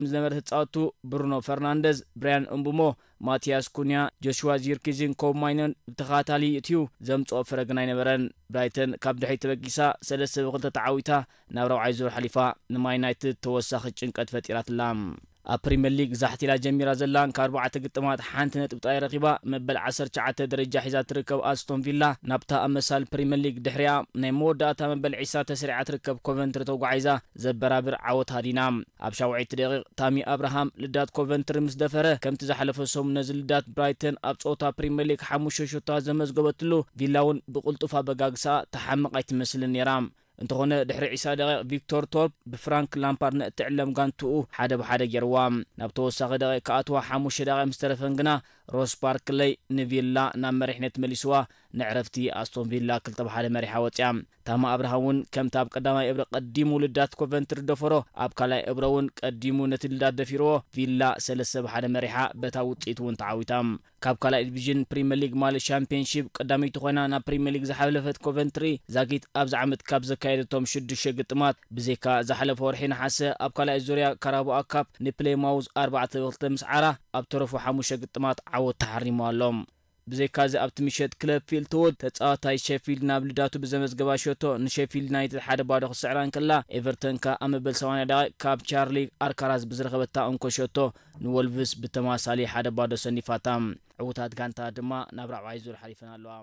ምስ ዝነበረ ተጻወቱ ብሩኖ ፈርናንደዝ፣ ብራያን እምቡሞ፣ ማቲያስ ኩንያ፣ ጆሽዋ ዚርኪዚን ኮብ ማይነን ብተኸታታሊ ይእትዩ፣ ዘምጽኦ ፍረ ግን ኣይነበረን። ብራይተን ካብ ድሕሪት ተበጊሳ ሰለስተ ብ ክልተ ተዓዊታ ናብ ራብዓይ ዙር ሓሊፋ፣ ንማን ዩናይትድ ተወሳኺ ጭንቀት ፈጢራትላ። ኣብ ፕሪምየር ሊግ ዛሕቲላ ጀሚራ ዘላን ካብ ኣርባዕተ ግጥማት ሓንቲ ነጥቢ ጥራይ ረኺባ መበል ዓሰርተ ትሽዓተ ደረጃ ሒዛ ትርከብ ኣስቶን ቪላ፣ ናብታ ኣብ መሳል ፕሪምየር ሊግ ድሕሪኣ ናይ መወዳእታ መበል ዒስራ ተሰሪዓ ትርከብ ኮቨንትሪ ተጓዒዛ ዘበራብር ዓወት ሃዲና። ኣብ ሻውዓይቲ ደቂቕ ታሚ ኣብርሃም ልዳት ኮቨንትሪ ምስ ደፈረ፣ ከምቲ ዝሓለፈ ሰሙን ነዚ ልዳት ብራይተን ኣብ ጸወታ ፕሪምየር ሊግ ሓሙሽተ ሸቶታት ዘመዝገበትሉ፣ ቪላ እውን ብቕልጡፍ ኣበጋግሳ ተሓምቕ ኣይትመስልን ነይራ። እንተኾነ ድሕሪ ዒስራ ደቂቕ ቪክቶር ቶርፕ ብፍራንክ ላምፓርድ ነእትዕለም ጋንትኡ ሓደ ብሓደ ገይርዋ። ናብ ተወሳኺ ደቂቕ ክኣትዋ ሓሙሽተ ደቂቕ ምስ ተረፈን ግና ሮስ ባርክለይ ንቪላ ናብ መሪሕነት መሊስዋ። ንዕረፍቲ ኣስቶን ቪላ ክልተ ብሓደ መሪሓ ወጽያ። ታማ ኣብርሃም እውን ከምቲ ኣብ ቀዳማይ እብረ ቀዲሙ ልዳት ኮቨንትሪ ደፈሮ፣ ኣብ ካልኣይ እብረ እውን ቀዲሙ ነቲ ልዳት ደፊርዎ። ቪላ ሰለስተ ብሓደ መሪሓ በታ ውጽኢት እውን ተዓዊታ። ካብ ካልኣይ ዲቪዥን ፕሪምየር ሊግ ማለት ሻምፒዮንሺፕ ቀዳመይቲ ኮይና ናብ ፕሪምየር ሊግ ዝሓለፈት ኮቨንትሪ ዛጊት ኣብዚ ዓመት ካብ ዘካየደቶም ሽዱሽተ ግጥማት ብዘይካ ዝሓለፈ ወርሒ ነሓሰ ኣብ ካልኣይ ዙርያ ካራባኦ ካፕ ንፕሌማውዝ ኣርባዕተ ብ ክልተ ምስ ዓራ ኣብ ተረፉ ሓሙሽተ ግጥማት ዓወት ተሓሪሙ ኣሎ። ብዘይካዚ ኣብቲ ምሸት ክለብ ፊልትውድ ተጻዋታይ ሸፊልድ ናብ ልዳቱ ብዘመዝገባ ሸቶ ንሸፊልድ ዩናይትድ ሓደ ባዶ ክስዕራ እንከላ ኤቨርተን ከኣ ኣብ መበል ሰማንያ ደቂቕ ካብ ቻርሊ ኣርካራዝ ብዝረኸበታ እንኮ ሸቶ ንወልቭስ ብተማሳሊ ሓደ ባዶ ሰኒፋታ። ዕዉታት ጋንታ ድማ ናብ ራብዓይ ዙር ሓሊፈን ኣለዋ።